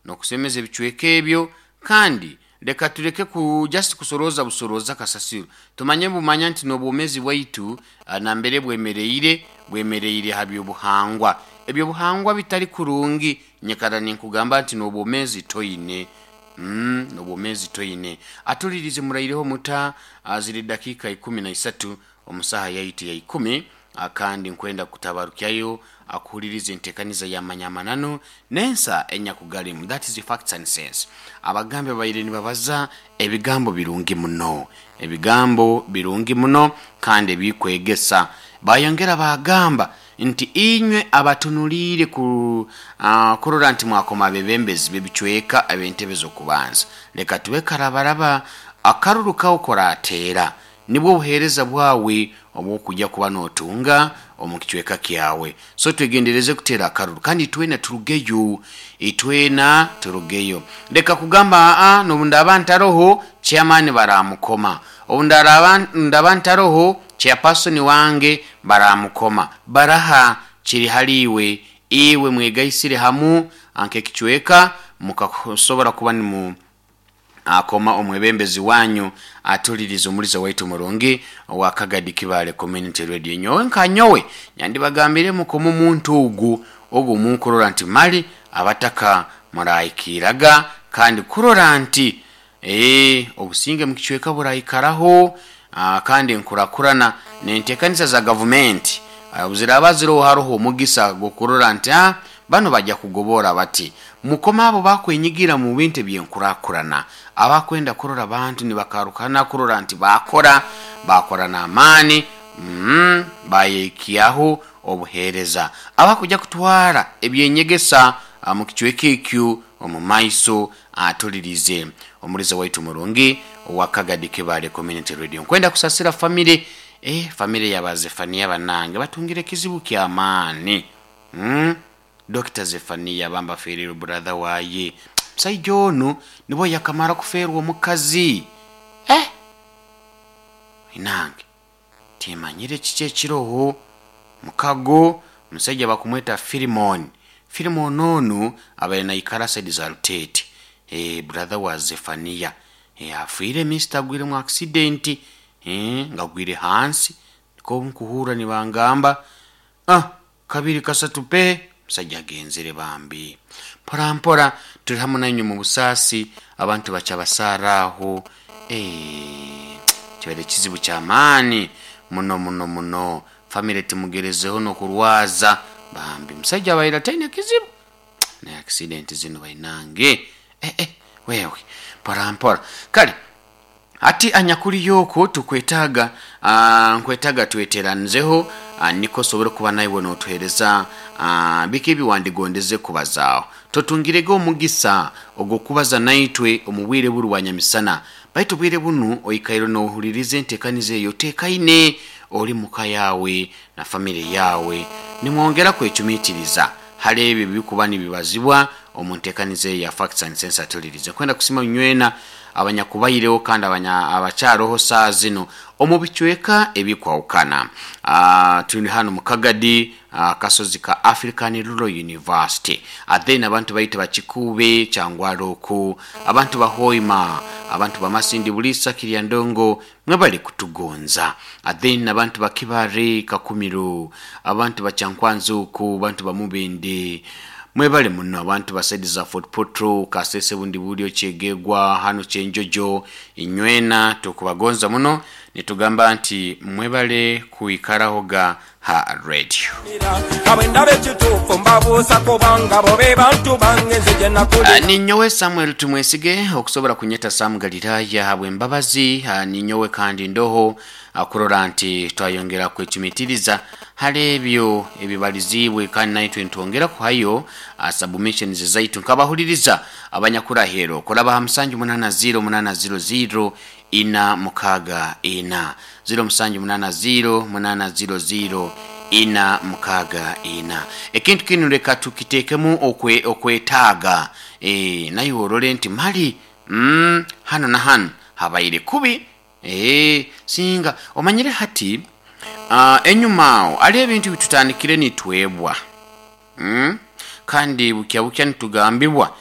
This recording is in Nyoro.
N'okusemeza ebicweka ebyo kandi leka tuleke ku just kusorooza busorooza kasasiro. Tumanye bumanya nti n'obwomeezi bwaitu nambere bwemereire, bwemereire ha by'obuhangwa. Eby'obuhangwa bitali kurungi, nyikara ninkugamba nti n'obwomeezi toine. Mm, n'obwomeezi toine. Atulirize muraireho muta ziri dakiika 13 omu saaha yaitu ya ikumi kandi nkwenda kutabarukyayo akuhuliriza entekaniza ya Manya Amananu n'ensa enyakugalimu, that is Facts and Sense. Abagambi babaire nibabaza ebigambo birungi muno, ebigambo birungi muno kandi ebikwegesa. Bayongera baagamba nti inywe abatunuliire ku kurora nti mwakoma abebembezi b'ebicweka eb'entebe z'okubanza, leka tube karabaraba akaruru kawe korateera. Nibwo obuheereza bwawe obw'okuja kuba nootunga omu kicweka kyawe. So twegendereze kuteera akaruru kandi itwena turugeyo. Itwena turugeyo. Leka kugamba aa n'obu ndaaba ntaroho chairman baraamukoma, obu ndaraaba ndaba ntaroho chairperson wange baraamukoma. Baraha? Kiri hali iwe. Iwe mwegaisire hamu nk'ekicweka mukasobora kuba nimu. Akoma omwebembezi wanyu atulirize omuliza waitu murungi owa Kagadi Kibaale Community Radio. Nyowe nka nyowe nyandibagambire mukome omuntu ogu ogu munkurora nti mali abataka murahikiraga kandi kurora nti eeh obusinge mukicweka buraikaraho kandi enkurakurana nentekaniza za gavumenti obuziraba ziroho haroho omugisa gwokurora nti aah Banu baja kugoboora bati, Mukome abo abakwenyigira mu bintu eby'enkurakurana, abakwenda kurora abantu nibakarukana kurora nti baakora, baakora n'amaani, mm, baayehikyaho obuheereza, abakuja kutwara eby'enyegesa mu kicweka ekyo omu maiso. Atulirize omuliza waitu murungi owa Kagadi Kibaale Community Radio. Nkwenda kusasira famire, eh, famire ya ba Zephania banange batungire ekizibu ky'amaani. Umm Dokita Zephania bambi afeereirwe brother waye. Omusaija onu nibwo yakamara kufeerwa omukazi. Eh! Inange timanyire kiki ekiroho. Mukago omusaija bakumweta Philemon. Philemon onu abaire naikara side za Luteete. Eh brother wa Zephania. Eh afiire mister agwire mu accident. Eh nga agwire hansi. Nikwo nkuhurra nibangamba. Ah! Kabiri kasatu pe, omusaija agenzere bambi. Mpora mpora turi hamu nainywe mu busaasi, abantu bakyabasaara aho. Eeh, kibaire kizibu kya maani muno muno muno. Famire timugerezeho n'okurwaza bambi. Omusaija abaire ataine kizibu. Naye accident zinu bainange. Eh eh, wewe, mpora mpora. Kale. Hati anyakuriyo okwo tukwetaaga, nkwetaaga tweteranzeho nikwo osobole kuba naiwe notuhereza biki ebi wandigondeze kubazaaho. Totungirege omugisa ogw'okubaza naitwe omu bwire buru bwa nyamisana, baitu obwire bunu oikaire nohuliriza entekaniza eyo otekaine ori muka yaawe na famire yaawe nimwongera kwecumitiriza hali ebyo ebirikuba nibibazibwa omu ntekaniza eyo ya Facts and Sense Atulirize. Nkwenda kusima inywena abanyakubaireho kandi abakyaroho saaha zinu omu bicweka ebikwahukana. Turi hanu mu Kagadi, akasozi ka African Rural University. Then abantu baitu ba Kikuube, Kyangwali oku, abantu ba Hoima, abantu ba Masindi, Buliisa, Kiryandongo, mwebale kutugonza. Then abantu ba Kibare, Kakumiro, abantu ba Kyankwanzi oku, abantu ba Mubende, mwebale muno. Abantu ba saidi za Fort Portal, Kasese, Bundibulyo, Kyegegwa, hanu Kyenjojo, inywena tukubagonza muno nitugamba nti mwebale kwikarahoga ha radio. Ninyowe Samuel Tumwesige, okusobora kunyeta Sam Galiraya habw'embabazi. Ninyowe kandi ndoho kurora nti twayongera kwecumitiriza hali ebyo ebibaliziibwe kandi naitwe nitwongera kuhayo submissions zaitu nk'abahuliriza abanyakuraheero kuraba ha musanju munana ziro munana ziro ziro ina mukaaga ina, ziro musanju munana ziro munana ziro ziro ina mukaaga ina. Ekintu kinu leka tukitekemu okwe okwetaaga eeh naiwe orole nti mali mm hanu na hanu habaire kubi eeh singa omanyire hati aah enyuma aho hariho ebintu ebitutandikire nitwebwa mm kandi bukya bukya nitugambibwa.